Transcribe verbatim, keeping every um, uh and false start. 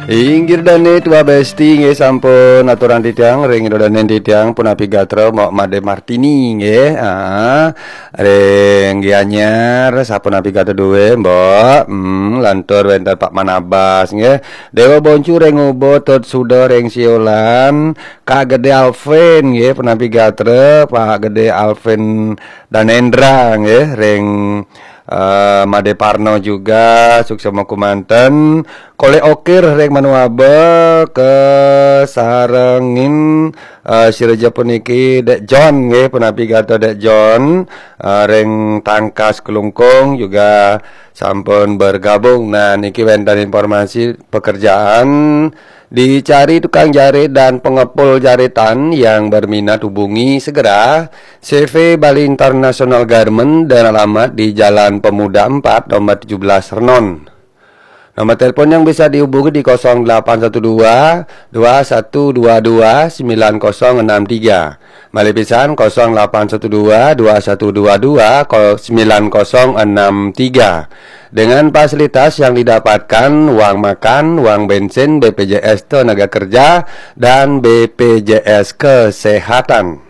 Inggih dané Tua Besti nggih, sampun aturang titiang ring ida dané titiang punapi gatra Mbok Made Martini nggih. Ah, ring Gianyar sapunapi gatra duwé, Mbok. Hmm, lantur wénten Pak Manabas nggih. Déwa Boncu ring Ubud, Tut Suda ring Siolan, Kak Gedé Alvin nggih, punapi gatra Pak Gedé Alvin Danendra nggih, ring eh, Made Parno juga, suksma kumanten. Kolek Okir ring Manuaba, kasarengin eh, sira puniki Dek John nggih, punapi gatra Dek John, eh, ring Tangkas Klungkung juga sampun bergabung. Nah, niki wénten informasi pekerjaan, dicari tukang jahit dan pengepul jahitan yang berminat, hubungi segera C V Bali International Garment dan alamat di Jalan Pemuda empat, nomor tujuh belas, Renon. Nomor telepon yang bisa dihubungi di kosong delapan satu dua, dua satu dua dua, sembilan kosong enam tiga. Malih pisan, kosong delapan satu dua, dua satu dua dua, sembilan kosong enam tiga. Dengan fasilitas yang didapatkan, uang makan, uang bensin, B P J S Tenaga Kerja, dan B P J S Kesehatan.